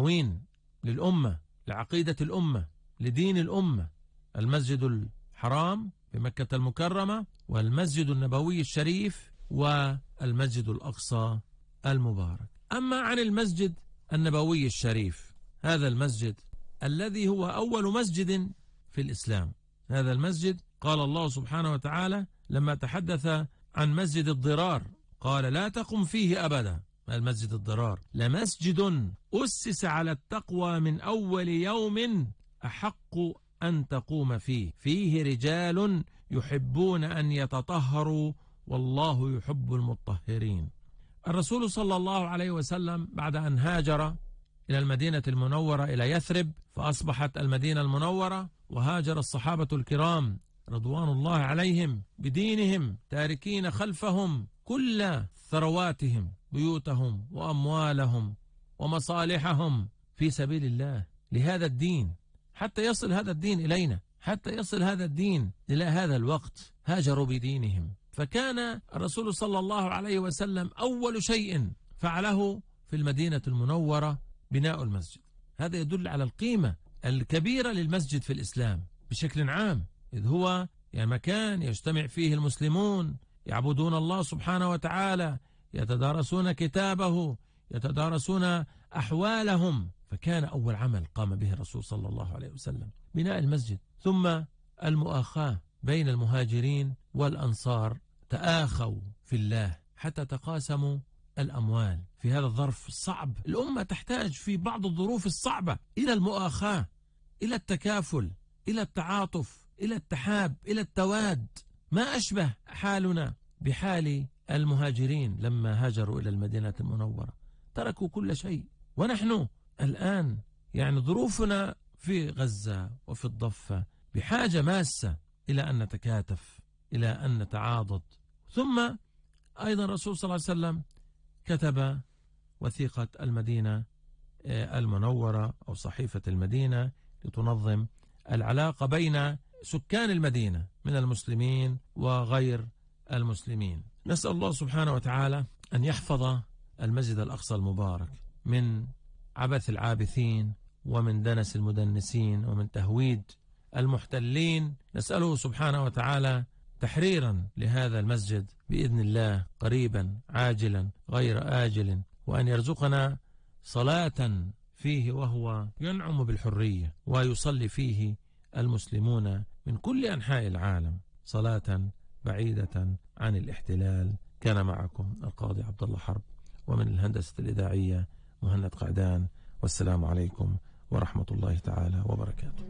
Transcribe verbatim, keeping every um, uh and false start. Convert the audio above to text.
تموين للأمة، لعقيدة الأمة، لدين الأمة. المسجد الحرام في مكة المكرمة، والمسجد النبوي الشريف، والمسجد الأقصى المبارك. أما عن المسجد النبوي الشريف، هذا المسجد الذي هو أول مسجد في الإسلام. هذا المسجد قال الله سبحانه وتعالى لما تحدث عن مسجد الضرار قال لا تقم فيه أبدا. المسجد الضرار لمسجد أسس على التقوى من أول يوم أحق أن تقوم فيه فيه رجال يحبون أن يتطهروا والله يحب المطهرين. الرسول صلى الله عليه وسلم بعد أن هاجر إلى المدينة المنورة إلى يثرب فأصبحت المدينة المنورة، وهاجر الصحابة الكرام رضوان الله عليهم بدينهم تاركين خلفهم كل ثرواتهم، بيوتهم وأموالهم ومصالحهم في سبيل الله لهذا الدين، حتى يصل هذا الدين إلينا، حتى يصل هذا الدين إلى هذا الوقت. هاجروا بدينهم. فكان الرسول صلى الله عليه وسلم أول شيء فعله في المدينة المنورة بناء المسجد. هذا يدل على القيمة الكبيرة للمسجد في الإسلام بشكل عام، إذ هو يعني مكان يجتمع فيه المسلمون يعبدون الله سبحانه وتعالى، يتدارسون كتابه، يتدارسون أحوالهم. فكان أول عمل قام به الرسول صلى الله عليه وسلم بناء المسجد. ثم المؤاخاة بين المهاجرين والأنصار، تآخوا في الله حتى تقاسموا الأموال في هذا الظرف الصعب. الأمة تحتاج في بعض الظروف الصعبة إلى المؤاخاة، إلى التكافل، إلى التعاطف، إلى التحاب، إلى التواد. ما أشبه حالنا بحال المهاجرين لما هاجروا إلى المدينة المنورة، تركوا كل شيء. ونحن الآن يعني ظروفنا في غزة وفي الضفة بحاجة ماسة إلى أن نتكاتف، إلى أن نتعاضد. ثم أيضا الرسول صلى الله عليه وسلم كتب وثيقة المدينة المنورة أو صحيفة المدينة لتنظم العلاقة بين سكان المدينة من المسلمين وغير المسلمين. نسأل الله سبحانه وتعالى أن يحفظ المسجد الأقصى المبارك من عبث العابثين ومن دنس المدنسين ومن تهويد المحتلين. نسأله سبحانه وتعالى تحريرا لهذا المسجد بإذن الله قريبا عاجلا غير آجل، وأن يرزقنا صلاة فيه وهو ينعم بالحرية ويصلي فيه المسلمون من كل أنحاء العالم صلاة بعيدة عن الاحتلال. كان معكم القاضي عبد الله حرب، ومن الهندسة الإذاعية مهند قعدان، والسلام عليكم ورحمة الله تعالى وبركاته.